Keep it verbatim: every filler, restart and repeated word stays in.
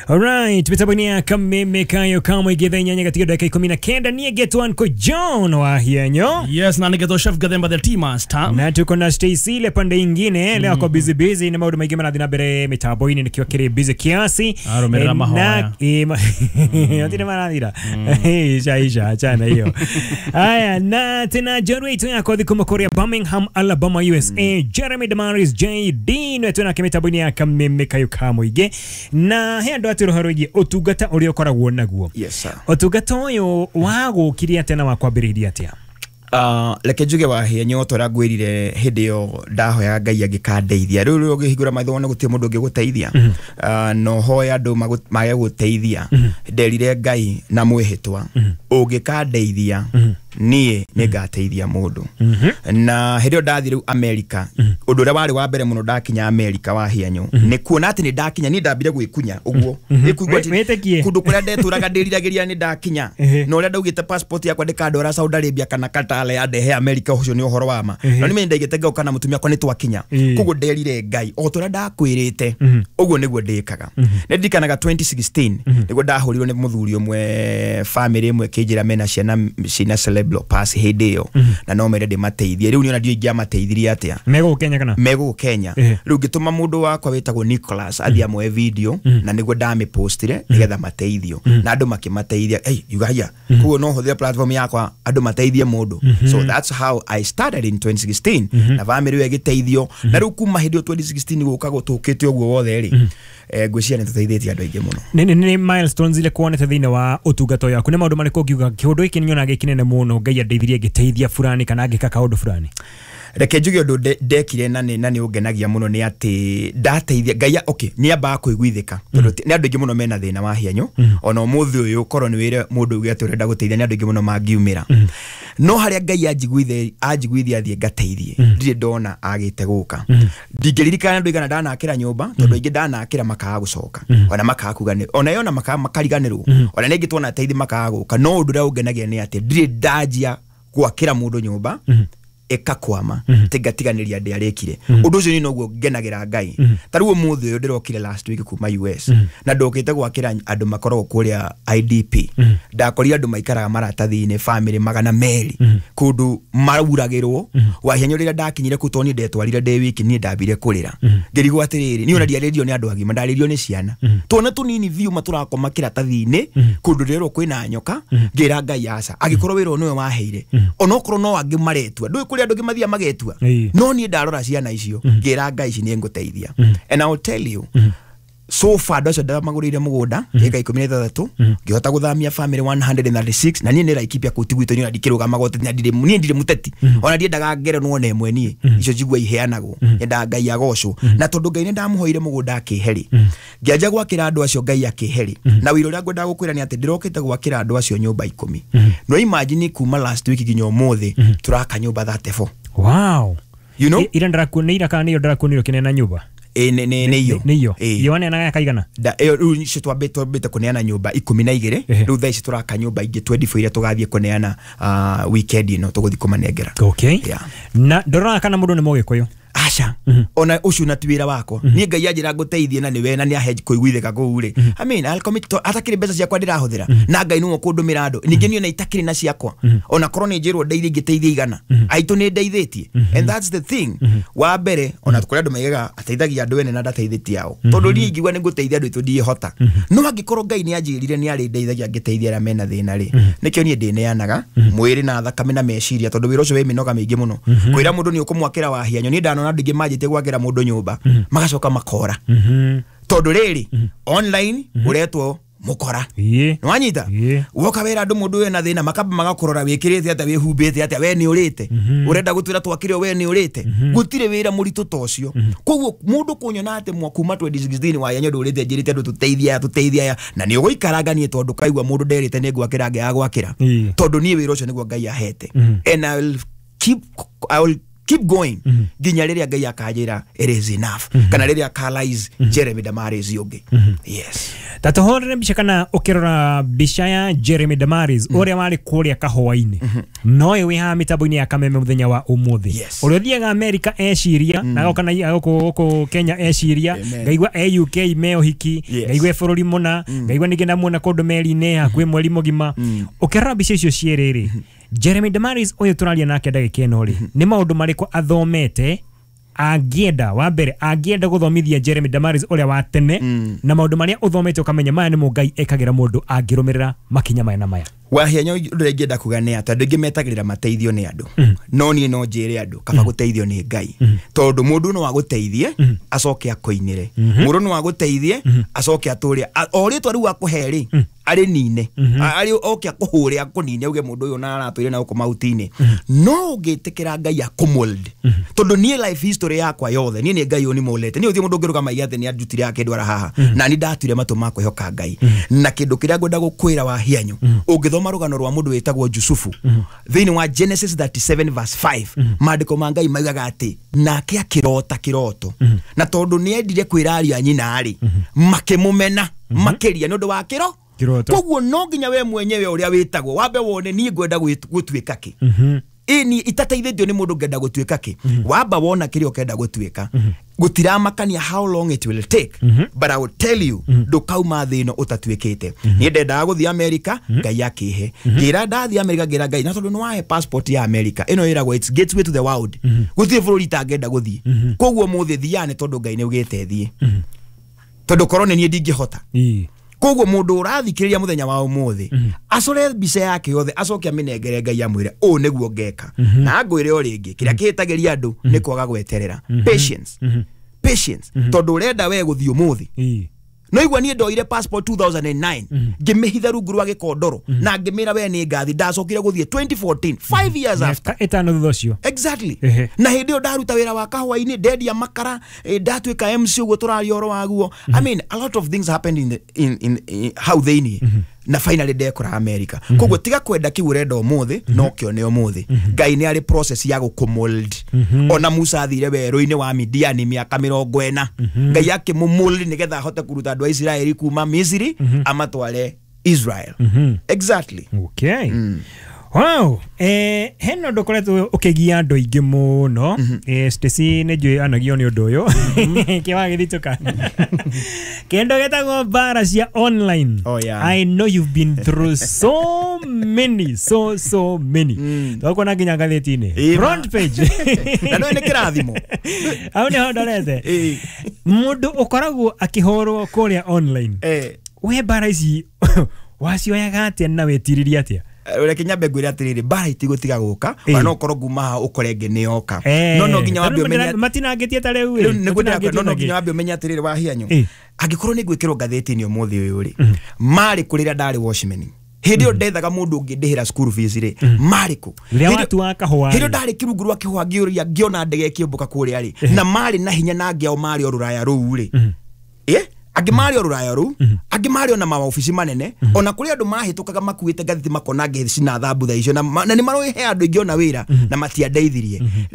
Alright, mitambo-inĩ ya Kameme Kayo kamwe githaa inyanya gatiga ndagĩka ikũmi na kenda. Niĩ ngetwo Uncle John wa Hienyo. Yes, na nĩgetwo Chef Gathemba the Tea Master. Na tuko na Stacy ile pande ingine leo ako busy busy na maũndũ maingĩ marathiĩ na mbere mitambo-inĩ nĩkĩo kĩrĩ busy kiasi. Arũmĩrĩra Eh, mahoya. na- eh, ma- Matirĩ marathira. Isha isha, achana hiyo. Haya, na tena njorua itũ ya kothi kuma kũrĩa Birmingham, Alabama, U S A, Jeremy Damaris J D nĩwe twĩnake mĩtambo-inĩ ya Kameme Kayo ka mũingĩ. Na he andũ atĩ ũhoro wĩgiĩ ũtungata ũrĩa ũkoragwo naguo. Yes, sir. Ũtungata ũyũ wagũkirie atĩa na wakwambĩrĩirie atĩa? Uh, reke njuge wahia nyota ũrĩa ngwĩrire hĩndĩ ĩyo ndahoyaga Ngai angĩkandeithia. Rĩu rĩu ũngĩhingũra maitho wone gũtirĩ mũndũ ũngĩgũteithia, uh, na ũhoe andũ magũ- mage gũteithia. Nderire Ngai na mwĩhĩtwa, ũngĩkandeithia niĩ nĩ ngateithia mũndũ. Na hĩndĩ ĩyo ndathiĩ rĩu America, ũndũ ũrĩa warĩ wa mbere mũno ndakinya America wa hianyo nĩ kuona atĩ nĩ ndakinya. Niĩ ndambire gwĩkunya ũguo Nĩ kũigua atĩ Wĩtĩkie. kũndũ kũrĩa ndetũraga ndĩriragĩria nĩ ndakinya, Ehe. na ũrĩa ndaugĩte passport yakwa ndĩkandwara Saudi Arabia kana Qatar yandehe America, ũcio nĩ ũhoro wa ma. Ehe. No nĩ ndaigĩte ngauka na mũtumia wakwa nĩ twakinya. Ĩĩ. Koguo nderire Ngai o ta ũrĩa ndakwĩrĩte, ũguo nĩguo ndĩkaga. Nĩ ndirikanaga twenty sixteen nĩguo ndahũrirwo nĩ mũthuri ũmwe, family ĩmwe ĩkĩnjĩra mena ciana ciĩna cerebral palsy hĩndĩ ĩyo na no mende ndĩmateithie. Rĩu niĩ ona ndiũĩ ingĩamateithirie atĩa. Megũkũ Kenya kana? Megũkũ Kenya. Ehe. Rĩu ngĩtũma mũndũ wakwa wĩtagwo Nicholas athiĩ amoe video na nĩguo ndamĩpostire nĩgetha mateithio, na andũ makĩmateithia. Hey, yuga haya, koguo no hũthĩre platform yakwa andũ mateithie mũndũ. So that's how I started in twenty sixteen na family ĩyo ĩgĩteithio. Na rĩu kuma hĩndĩ ĩyo twenty sixteen gũka gũtũkĩte ũguo wothe rĩ, eh, ngwĩciria nĩ tũteithĩtie andũ aingĩ mũno. nĩ nĩ nĩ milestones ile kuonete thĩinĩ wa ũtungata ũyũ waku, nĩ maũndũ marĩkũ ũngiuga kĩũndũ gĩkĩ nĩ nyonaga gĩ kĩnene mũno, Ngai andeithirie ngĩteithia fulani kana ngĩka kaũndũ fulani? Reke njuge ũndũ nde- ndekire na nĩ na nĩ ũngenagia mũno nĩ atĩ ndateithia Ngai. Okay, nĩ ambaga kũiguithĩka tondũ ti- nĩ andũ aingĩ mũno mena thĩna wa hianyũ. Ona ũmũthĩ ũyũ korwo nĩ wĩre mũndũ uge atĩ ũrenda gũteithia, nĩ andũ aingĩ mũno mangiumĩra. No harĩa Ngai anjiguithia anjiguithia thiĩ ngateithie, ndirĩ ndona agĩte gũka. Ndingĩririkana andũ aigana ndanakĩra nyũmba, tondũ aingĩ ndanakĩra makaga gũcoka, ona makaga kuga nĩ ona yona makaga makariganĩrwo, ona nĩ ingĩ tuona teithia makaga gũka. No ũndũ ũrĩa ũngenagia nĩ atĩ ndirĩ ndanjia gwakĩra mũndũ nyũmba ĩkakwama atĩ ngatiganĩria ndĩarĩkire ũndũ ũcio. Niĩ noguo ngenagĩra Ngai. Ta rĩu ũmũthĩ ũyũ ndĩrokire last week kuma U S na ndokĩte gwakĩra andũ makoragwo kũrĩa I D P. Ndakorire andũ maikaraga maratathi-inĩ, family magana merĩ, kũndũ mauragĩrwo wahianyo. Rĩrĩa ndakinyire kũu, tondũ niĩ ndetwarire ndĩ wiki, niĩ ndambire kũrĩra ngĩrigwo atĩrĩrĩ, niĩ ona ndiarĩrio nĩ andũ agima, ndarĩrio nĩ ciana twana tũnini biũ matũrakoma kĩratathi-inĩ kũndũ ndĩrerwo kwĩna nyoka. Ngĩra Ngai aca, angĩkorwo wĩra ũyũ nĩwe waheire, onokorwo no angĩ maretua, ndũĩ kũrĩ andũ angĩ mathiaga magetua. Ĩĩ. No niĩ ndarora ciana icio ngĩra Ngai ici nĩ ngũteithia. And I will tell you, so far andũ acio ndamagũrĩire mũgũnda ĩka ikũmi na ithathatũ, ngĩhota gũthamia family one hundred thirty-six. Na niĩ nĩ Laikipia kũu ti gwitũ, niĩ ona ndikĩrũgamaga ũteti na ndirĩ niĩ ndirĩ mũteti, ona ndiendaga ngerenwo ona ĩmwe. Niĩ icio njigua iheanagwo, nyendaga Ngai agocwo. Na tondũ Ngai nĩ ndamũhoire mũgũnda akĩhe rĩ, ngĩanjia gwakĩra andũ acio, Ngai akĩhe rĩ. Na wĩra ũrĩa ngwendaga gũkwĩra nĩ atĩ ndĩrokĩte gwakĩra andũ acio nyũmba ikũmi. No imagine kuma last week nginya ũmũthĩ tũraka nyũmba thirty-four. Wow. You know? I- ira ndĩrakuo nĩ ira kana nĩyo ndĩrakuonire ũkĩneana nyũmba? Ĩ, nĩ nĩ nĩ iyo. Nĩ iyo. Ĩ. Iyo waneanaga kaigana? Da- ĩyo rĩu icio twambĩte twambĩte kũneana nyũmba ikũmi na igĩrĩ. Ehe. Rĩu thaa ici tũraka nyũmba ingĩ twenty-four iria tũgathiĩ kũneana uh, weekend ĩno tũgũthiĩ kũmanengera. Okay. Yeah. Na ndoraga kana mũndũ nĩ mũgĩkũyũ? Aca, ona ũcio na ti wĩra wakwa. Niĩ Ngai anjĩra ngũteithie na nĩwe na nĩ ahe kũiguithĩka kũu rĩ, I mean, I'll commit to atakĩrĩ mbeca ciakwa ndĩrahũthĩra na Ngai nĩwe ũkũndũmĩra andũ. Ningĩ niĩ ona itakĩrĩ na ciakwa, ona korwo nĩ njĩrwo ndeithie ingĩteithia igana aitũ nĩ ndeithĩtie. And that's the thing wa mbere, ona kũrĩ andũ maigaga ateithagia andũ ene na ndateithĩtie ao, tondũ niĩ ingiuga nĩ ngũteithia andũ aitũ ndiĩhota. No angĩkorwo Ngai nĩ anjĩrire nĩ arĩndeithagia ngĩteithia arĩa mena thĩna rĩ, nĩkĩo niĩ ndĩneanaga mwĩrĩ na thakame na meciria, tondũ wĩra ũcio wĩ mĩnoga mĩingĩ mũno. Kwĩra mũndũ nĩ ũkũmwakĩra wahianyo, niĩ ndanona andũ aingĩ manjĩtie gwakĩra mũndũ nyũmba magacoka makora, tondũ rĩrĩ online ũretwo mũkora. Ĩĩ. Nĩwanyita? Ĩĩ. Woka wĩra andũ mũndũ wĩna thĩna makamba magakũrora wĩkĩrĩte atĩa, wĩhumbĩte atĩa, we nĩ ũrĩte, ũrenda gũtwĩra twakĩre, we nĩ ũrĩte. Gũtirĩ wĩra mũritũ ta ũcio. Koguo mũndũ kũnyona atĩ mwa kuma twenty sixteen waya ndũrĩte njĩrĩte andũ tũteithie aya, tũteithie aya, na nĩ ũgũikaranga niĩ tondũ kaigua mũndũ nderĩte nĩ ngwakĩra ngĩaga gwakĩra, Ĩĩ. tondũ niĩ wĩra ũcio nĩguo Ngai ahete. And I will keep I will keep going nginya rĩrĩa Ngai akanjĩra it is enough, kana rĩrĩa akalaize Jeremy Damaris ũngĩ. Yes. Ta tũhũrĩre mbica, kana ũkĩrora mbica ya Jeremy Damaris ũrĩa warĩ kũrĩa kahũa-inĩ no ũyũ wĩ haha mĩtambo-inĩ ya Kameme mũthenya wa ũmũthĩ, Yes. ũrĩa ũthiaga America eciria na agoka na gũkũ gũkũ Kenya eciria, Amen. ngaigua e U K me ũhiki, Yes. ngaigua e bũrũri mũna, ngaigua ningĩ ndamuona kũndũ meri-inĩ hakuhĩ mweri mũgima. Ũkĩrora mbica icio cierĩ rĩ, Jeremy Damaris ũyũ tũraria nake ndagĩka ĩno rĩ, nĩ maũndũ marĩkũ athomete angĩenda, wa mbere angĩenda gũthomithia Jeremy Damaris ũrĩa wa tene, na maũndũ marĩa ũthomete ũkamenya maya nĩmo Ngai ekagĩra mũndũ angĩrũmĩrĩra makinya maya na maya? Wahianya, ũndũ ũrĩa ingĩenda kuga nĩ atĩ andũ aingĩ metagĩrĩra mateithio nĩ andũ, no niĩ no njĩre andũ kaba gũteithio nĩ Ngai, tondũ mũndũ no agũteithie acoke akũinĩre, mũndũ no agũteithie acoke atũre A- o rĩtwa rĩu akũhe rĩ arĩ nine, A- arĩ oke akũhũre akũnine, auge mũndũ ũyũ na aratũire na gũkũ mahuti-inĩ. No ũngĩtĩkĩra Ngai akũmold, tondũ niĩ life history yakwa yothe niĩ nĩ Ngai ũnimolete. Niĩ gũtirĩ mũndũ ũngĩrũgama aiga atĩ nĩ anjutire akĩndwara haha, na niĩ ndatuire matũ ma kwĩhoka Ngai. Na kĩndũ kĩrĩa ngwenda gũkwĩra wahianyu, ũngĩthoma rũgano rwa mũndũ wĩtagwo Jusufu thĩinĩ wa Genesis thirty-seven verse five, maandĩko ma Ngai maugaga atĩ nake akĩrota kĩroto, na tondũ nĩ endire kwĩra ariũ a nyina rĩ, makĩmũmena makĩria nĩ ũndũ wa kĩro Kĩroto. Koguo no nginya we mwenyewe ũrĩa wĩtagwo wambe wone niĩ ngwenda gwĩt- gũtuĩka kĩ, ĩni itateithĩtio nĩ mũndũ, ngenda gũtuĩka kĩ. Wamba wona kĩrĩa ũkenda gũtuĩka, gũtiramakania how long it will take, but I will tell you, ndũkauma thĩ ĩno ũtatuĩkĩte. Niĩ ndendaga gũthiĩ America, Ngai akĩhe. Ngĩra ndathiĩ America, ngĩra Ngai, na tondũ nĩ wahe passport ya America ĩno ĩragwo it's gateway to the world, gũtirĩ bũrũri itangĩenda gũthiĩ. Koguo mũthĩ thiaga nĩ tondũ Ngai nĩ augĩte thiĩ, tondũ korwo nĩ niĩ ndingĩhota. Ĩĩ. Koguo mũndũ ũrathikĩrĩria mũthenya wa ũmũthĩ acore mbica yake yothe, acoke amĩnengere Ngai, amwĩre ũũ nĩguo ngeka. Na ngwĩre o rĩngĩ, kĩrĩa kĩhĩtagĩria andũ nĩ kwaga gweterera, patience, patience, tondũ ũrenda we gũthiĩ ũmũthĩ. Ĩĩ. No igua niĩ ndoire passport two thousand and nine, ngĩmĩhitha rungu rwa gĩkondoro na ngĩmĩra we nĩ ngathi. Ndacokire gũthiĩ twenty fourteen, five years after. Mĩaka ĩtano thutha ũcio. Exactly. Ehe. Na hĩndĩ ĩyo ndaruta wĩra wa kahũa-inĩ, ndendia makara, eh, ndatuĩka M C ũguo tũraria ũhoro waguo. I mean, a lot of things happened in, the, in, in, in hau thĩiniĩ, na finally ndekora America. Koguo tiga kwenda kĩu ũrenda ũmũthĩ no kĩone ũmũthĩ. Ngai nĩ arĩ process ya gũkũmold. Ona Musa athire werũ-inĩ wa Midiani mĩaka mĩrongo ĩna, Ngai akĩmũmold nĩgetha ahote kũruta andũ a Isiraeli kuma Misiri amatware Israel. Exactly. Okay. Wow, eh, hena ũndũ ũkoretwo ũkĩgia andũ aingĩ mũno. eh, Stacy nĩ njũĩ anagio nĩ ũndũ ũyũ kĩwagĩthitũka kĩndũ gĩtagwo mbara cia online. Oh, yeah. I know you've been through so many, so so many. Twakuona nginya ngathĩti-inĩ, Ĩma. front page. Na no nĩ kĩrathimo. Hau nĩho ndorete. Ĩĩ. Mũndũ ũkoragwo akĩhũrwo kũrĩa online, Eh. we mbara ici wacioyaga atĩa na wĩtirĩria atĩa? Reke nyambe ngwĩre atĩrĩrĩ, mbara itigũtiga gũka. Ĩĩ. Ona no ũkorwo nguma haha ũkore ĩngĩ nĩ yoka, Eh, no no nginya wambe tarĩu ũmenye matinangĩtie ta rĩu Rĩu ĩ, nĩguo ndĩrakwĩra, no no matinangĩtie nginya wambe ũmenye atĩrĩrĩ wahianyu, Ĩĩ. angĩkorwo nĩ ngwĩkĩrwo ngathĩti-inĩ ũmũthĩ ũyũ rĩ, marĩ kũ rĩrĩa ndarĩ watchman, hĩndĩ ĩyo ndethaga mũndũ ũngĩndĩhĩra school fees rĩ, marĩ kũ? Rĩrĩa Hĩndĩ- watua kahũa hĩndĩ ĩyo rĩ. ndarĩ kĩrungu rwa kĩhũa, ngĩũria ngĩona ndege ĩkĩũmbũka kũrĩa rĩ, na marĩ na hinya na angĩ ao marĩ o rũraya rũu rĩ, ĩ angĩ marĩ o rũraya rũu, angĩ marĩ ona mawabici manene, ona kũrĩ andũ mahĩtũkaga makuĩte ngathĩti makona ngĩcina thambutha icio, na ma- na nĩ maroĩ he andũ aingĩ ona wĩra na matiandeithirie.